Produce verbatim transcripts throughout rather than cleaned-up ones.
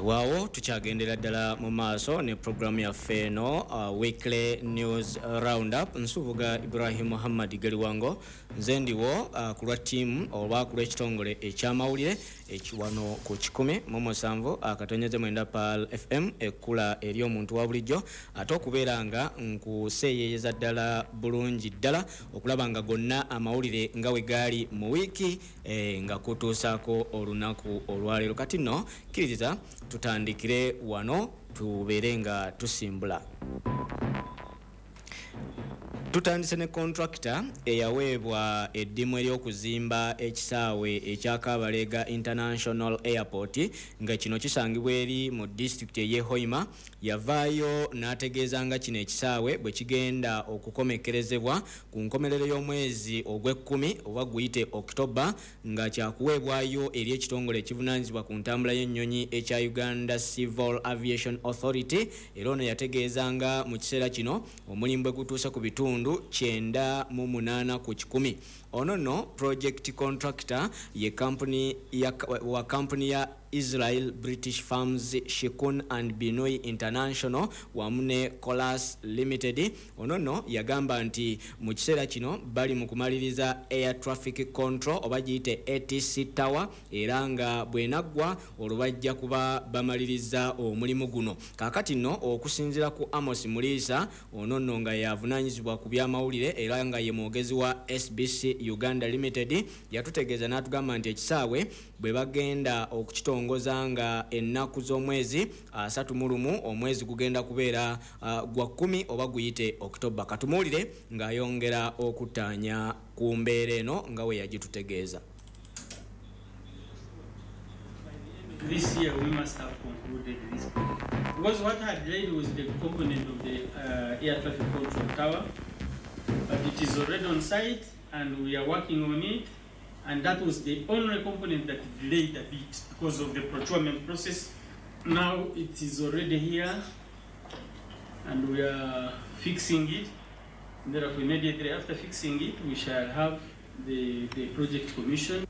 Weewaawo, tukyagendera ddala mu maaso ne programu yaffe eno, uh, Weekly News Roundup. Nsubuga Ibrahim Muhammad Galiwango, nze ndiwo uh, ku lwa ttiimu oba ku lw'ekitongole ekyamawulire ekiwano ku kikumi mu musanvu akatonyeze mwenda Pearl F M, ekkula eri omuntu wa bulijjo, ate okubeera nga nkuseeyeeyeza ddala bulungi ddala okulaba nga gonna amawulire nga we gaali mu wiiki eh, nga kutuusaako olunaku olwaleero. Kati nno kkiririza tutandikire wano, tubeere nga tusimbula. Tutandise ne contractor eyaweebwa eddimu ery'okuzimba ekisaawe ekya Kabalega International Airport, nga kino kisangibwa eri mu disitulikiti ey'e Hoima, yavaayo n'ategeeza nga kino ekisaawe bwe kigenda okukomekkerezebwa ku nkomerero y'omwezi ogw'ekkumi oba guyite October, nga kyakuweebwayo eri ekitongole ekivunaanyizibwa ku ntambula y'ennyonyi ekya Uganda Civil Aviation Authority. Era ono yategeeza nga mu kiseera kino omulimu bwe gutuuse ku bitundu kyenda mu munaana ku kikumi. Ono nno project contractor ye company ya, wa company ya Israel British Farms Shikun and Binui International wamu ne Colas Limited. Ono nno yagamba nti mu kiseera kino bali mu kumaliriza air traffic control oba giyite A T C tower, era nga bwenaggwa olwo bajja kuba bamaliriza omulimu guno. Kaakati nno okusinziira ku Amos Muliisa, ono nno nga yavunaanyizibwa ku byamawulire era nga ye mwogezi wa S B C Uganda Limited, yatutegeeza n'atugamba nti ekisaawe bwe bagenda okukitongoza nga ennaku z'omwezi asatu mu lumu, omwezi gugenda kubeera uh, gwa kkumi oba guyite Okitoba. Katumuwulire ng'ayongera okuttaanya ku mbeera eno nga we yagitutegeeza. This year we must have concluded this project. Because what had delayed was the component of the uh, air traffic control tower, but it is already on site and we are working on it. And that was the only component that delayed a bit because of the procurement process. Now it is already here and we are fixing it. Therefore, immediately after fixing it, we shall have the, the project commission.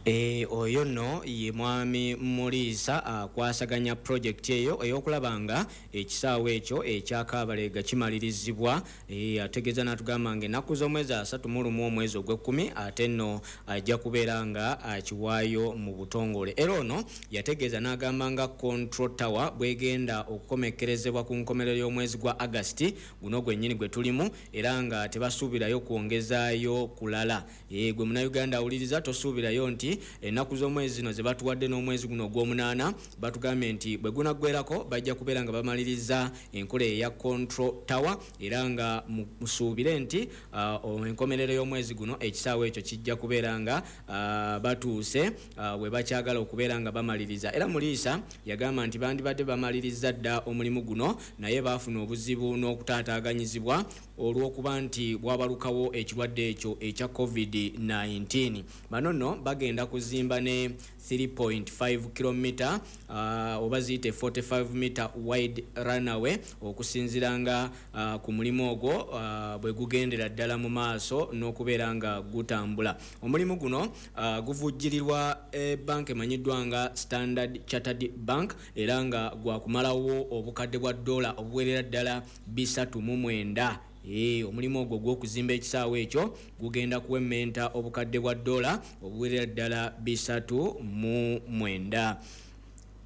E, oyo nno ye mwami Muliisa akwasaganya projekiti eyo ey'okulaba nga ekisaawe ekyo ekya Kabalega kimalirizibwa. e, ategeeza n'atugamba nga ennaku z'omwezi asatu mu lumu omwezi ogw'ekkumi ate nno ajja kubeera nga akiwaayo mu butongole. Era ono yategeeza n'agamba nga control tower bwegenda okukomekkerezebwa ku nkomerero y'omwezi gwa Agasiti guno gwennyini gwe tulimu, era nga tebasuubirayo kwongezaayo kulala. e, gwe Munnayuganda awuliriza, tosuubirayo nti ennaku z'omwezi zino ze batuwadde n'omwezi guno ogw'omunaana, batugambye nti bwe gunaggwerako bajja kubeera nga bamaliriza enkola eya control tower, era nga musuubire nti uh, enkomerero y'omwezi guno ekisaawe ekyo kijja kubeera nga uh, batuuse uh, we bakyagala okubeera nga bamaliriza. Era Muliisa yagamba nti bandibadde bamaliriza dda omulimu guno, naye baafuna obuzibu n'okutaataaganyizibwa olw'okuba nti bwabalukawo ekirwadde ekyo ekya COVID nineteen. Bano nno bagenda kuzimba ne three point five kilomita uh, oba ziyite forty-five meter wide runway. Okusinziira nga uh, ku mulimu ogwo uh, bwe gugendera ddala mu maaso n'okubeera nga gutambula, omulimu guno uh, guvujjirirwa banka emanyiddwa nga Standard Chartered Bank, era nga gwakumalawo obukadde bwa dola obuwerera ddala bisatu mu mwenda. E, omulimu ogwo gw'okuzimba ekisaawe ekyo gugenda kuwemmenta obukadde bwa dola obuwerera ddala bisatu mu mwenda.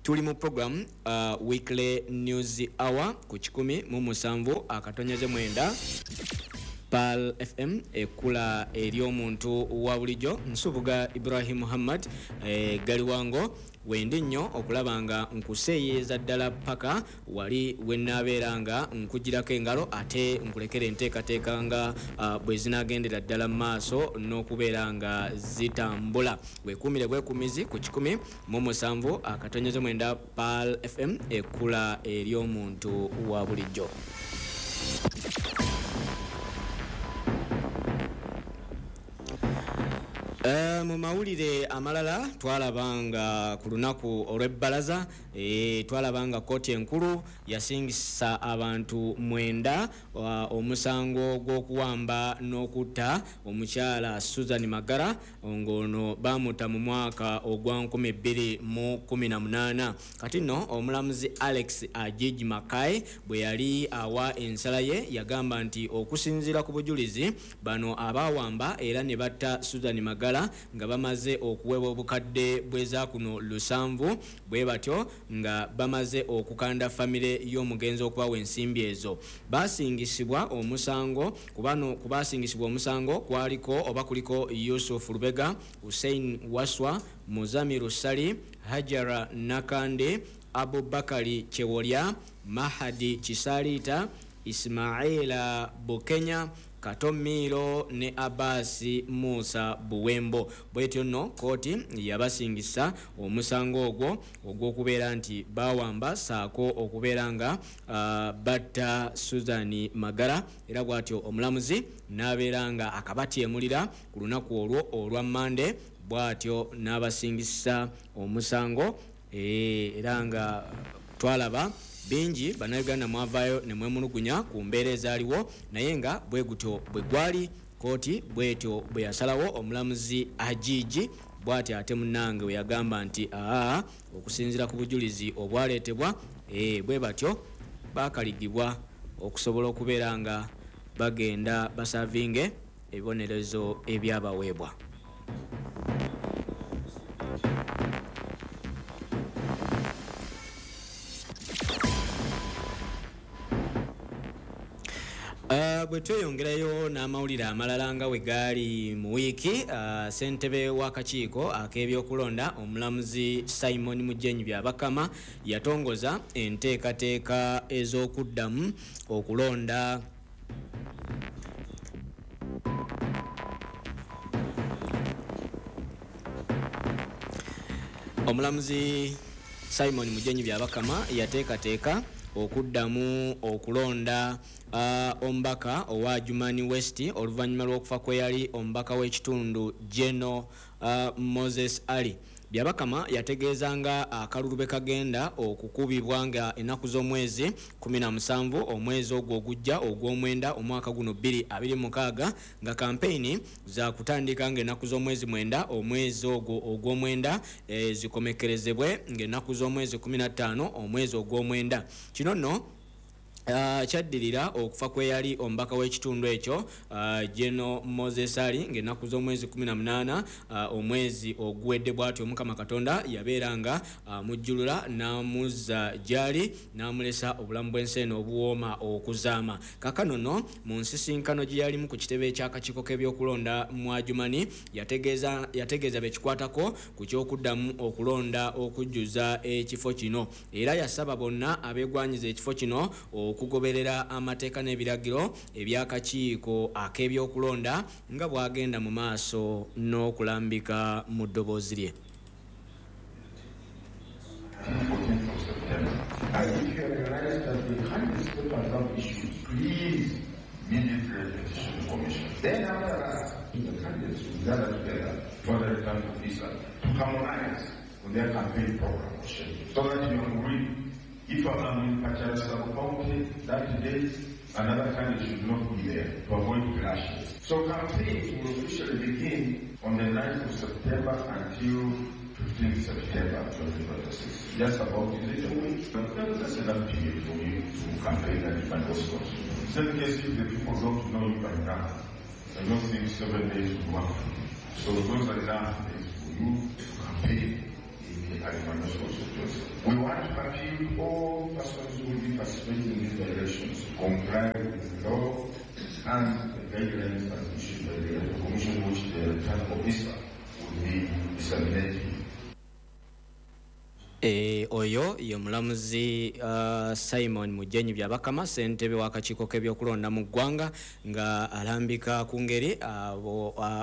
Tuli mu program uh, Weekly News Hour ku kikumi mu musanvu akatonyeze mwenda Pearl F M, ekkula eri omuntu wa bulijjo. Nsubuga Ibrahim Muhammad e, Galiwango, wendi nnyo okulaba nga nkuseeyeeza ddala paka wali wenaabeera nga nkugirako engalo, ate nkulekera enteekateeka nga uh, bwe zinaagendera ddala mu maaso n'okubeera nga zitambula. Weekuumire bwekuumizi ku kikumi mu musanvu akatonyeze mwenda Pearl F M, ekkula eri omuntu wa bulijjo. Uh, mu mawulire amalala twalabanga ku lunaku olw'ebbalaza e, twalabanga kkooti enkulu yasingisa abantu mwenda uh, omusango gw'okuwamba n'okutta omukyala Susan Magara ng'ono bamuta mu mwaka ogwa nkumi bbiri mu kkumi na munaana. Kati nno omulamuzi Alex Ajiji Makai bwe yali awa ensala ye yagamba nti okusinziira ku bujulizi bano abaawamba era ne batta Susan Magara nga bamaze okuweebwa obukadde bw'ezaakuno lusanvu bwe batyo nga bamaze okukanda famire y'omugenzi okubawa ensimbi ezo. Basingisibwa omusango kubano kubasingisibwa omusango kwaliko oba kuliko Yusuf Lubega, Hussein Waswa, Muzamiru Sali, Hajara Nakande, Abubakari Chewolya, Mahadi Chisalita, Ismaila Bukenya, Katomiro ne Abasi Musa Buwembo. Bwetyo nno kkooti yabasingisa omusango ogwo ogw'okubeera nti bawamba saako okubeera nga uh, batta Susan Magara, era bw'atyo omulamuzi n'abeera nga akabatyemulira ku lunaku olwo olwa Mmande, bw'atyo n'abasingisa omusango e, era nga twalaba bingi bannayuganda mwavaayo ne mwemulugunya ku mbeera ezaaliwo, naye nga bwe gutyo bwe gwali kkooti bwetyo bwe yasalawo omulamuzi Ajiji bw'atyo ate munnange we yagamba nti aa okusinziira ku bujulizi obwaleetebwa e, bwe batyo baakaligibwa okusobola okubeera nga bagenda basavinge ebibonerezo ebyabaweebwa. Uh, bwe tweyongerayo n'amawulire amalala nga we gaali mu wiiki, uh, ssentebe w'akakiiko ak'ebyokulonda omulamuzi Simon Mujenyi Byabakama yatongoza enteekateeka ez'okuddamu okulonda omulamuzi Simon Mujenyi Byabakama yateekateeka okuddamu okulonda uh, omubaka owa Adjumani West oluvannyuma lw'okufa kwe yali omubaka w'ekitundu Geno uh, Moses Ali. Byabakama yategeeza nga akalulu bwe kagenda okukubibwa nga ennaku z'omwezi kumi na musanvu omwezi ogwo ogujja ogw'omwenda omwaka guno bbiri abiri mukaaga, nga kampeyini zakutandika ng'ennaku z'omwezi mwenda omwezi ogwo ogw'omwenda e, zikomekerezebwe ng'ennaku z'omwezi kumi na ttaano omwezi ogw'omwenda. Kino nno Uh, kyaddirira okufa kwe yali omubaka w'ekitundu ekyo uh, Geno Moses Ali ng'ennaku z'omwezi kumi na munaana uh, omwezi oguwedde. Bw'atyo Omukama Katonda yabeera nga uh, mujjulula n'amuzza gy'ali n'amulesa obulamu bw'ensi eno obuwooma okuzaama. Kaakano nno mu nsisinkano gye yalimu ku kitebe eky'akakiiko k'ebyokulonda mu Adjumani yategeeza yategeeza be kikwatako ku ky'okuddamu okulonda okujjuza ekifo kino, era yasaba bonna abeegwanyiza ekifo kino okugoberera amateeka n'ebiragiro eby'akakiiko ak'ebyokulonda nga bw'agenda mu maaso n'okulambika mu ddoboozi lye. If I'm in Pachara Sub-County that day, another candidate should not be there to avoid clashes. So campaigns will officially begin on the ninth of September until fifteenth September twenty twenty-six. Just about is it a week? That's enough period for you to campaign and find response. In any case, if the people don't know you by now, I don't think seven days will work for you. So those are enough days for you to campaign. We want to appeal all persons who will be participating in these elections to comply with the law and the guidelines as issued by the Electoral Commission, which the returning officer will be disseminating. E, oyo ye mulamuzi uh, Simon Mujenyi Byabakama, ssentebe w'akakiiko k'ebyokulonda mu ggwanga, nga alambika ku ngeri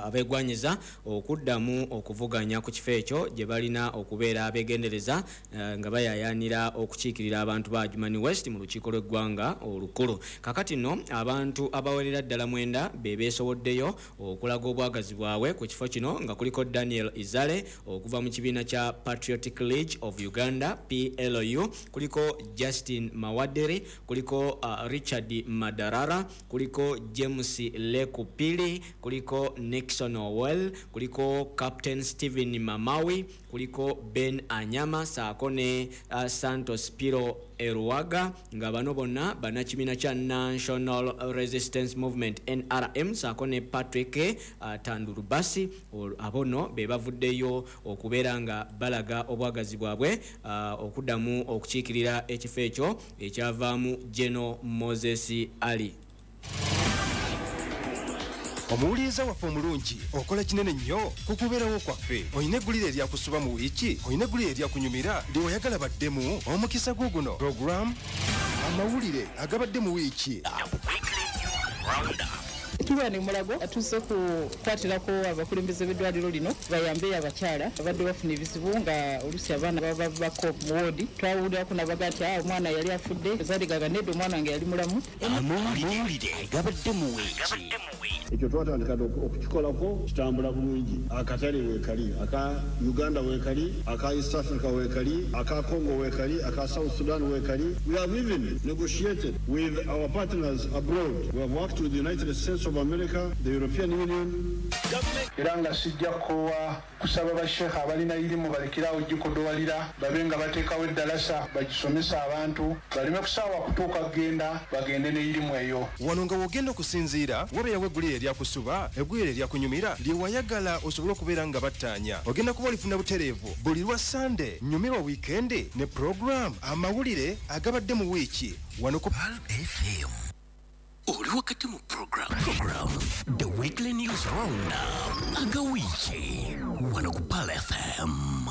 abeegwanyiza okuddamu okuvuganya ku kifo ekyo gye balina okubeera abeegendereza uh, nga bayaayaanira okukiikirira abantu ba Adjumani West mu lukiiko lw'eggwanga olukulu. Kakati nno abantu abawerera ddala mwenda be beesowoddeyo okulaga obwagazi bwabwe ku kifo kino, nga kuliko Daniel Izale okuva mu kibiina kya Patriotic League of Uganda P L U, kuliko Justin Mawaderi, kuliko uh, Richard Madarara, kuliko James Lekupili, kuliko Nixon Owell, kuliko Captain Steven Mamawi, kuliko Ben Anyama saako ne uh, Santos Piro Eruwaga, nga bano bonna bannakibiina kya National Resistance Movement N R M, saako ne Patrick uh, Tandurubasi. Abono be bavuddeyo okubeera nga balaga obwagazi bwabwe uh, okuddamu okukiikirira ekifo ekyo ekyavaamu General Moses Ali. Omuwuliriza waffe omulungi, okola kinene nnyo ku kubeerawo kwaffe. Olina eggulire eryakusuba mu wiiki, olina eggulire eryakunyumira lye wayagala baddemu. Omukisa gwo guno, program amawulire agabadde mu wiiki. Tuba ne Mulago tuzze kukwatirako abakulembeze b'eddwaliro lino bayambe abakyala abadde bafuna ebizibu nga oluusi abaana baba bako mu woodi. Twawulirako nabaga nti ah, omwana yali afudde, zaaligaga nedda, omwana wange yali mulamu. Amawulire agabadde mu wiiki. Ekyo twatandika okukikolako kitambula bulungi. Akatale weekali, aka Uganda weekali, aka East Africa weekali, aka Congo weekali, aka South Sudan weekali. We have even negotiated with our partners abroad. We have worked with the United States of America, the European Union. Era nga sijja kukoowa kusaba basheekha abalina irimu balekerawo gikodowalira, babe nga bateekawo eddalasa bagisomesa abantu baleme kusaawa kutuuka kugenda bagende ne irimu eyo. Wano nga wogenda okusinziira wabeerawo eggulire eryakusuba, eggulire eryakunyumira lye wayagala osobole okubeera nga battaanya. Ogenda kuba olifuna butereevu buli lwa Sande, nyumirwa wiikendi ne program amawulire agabadde mu wiiki wano ku R F M. Oli wakati mu program, program The Weekly News Roundup agawiiki wano ku Pearl F M.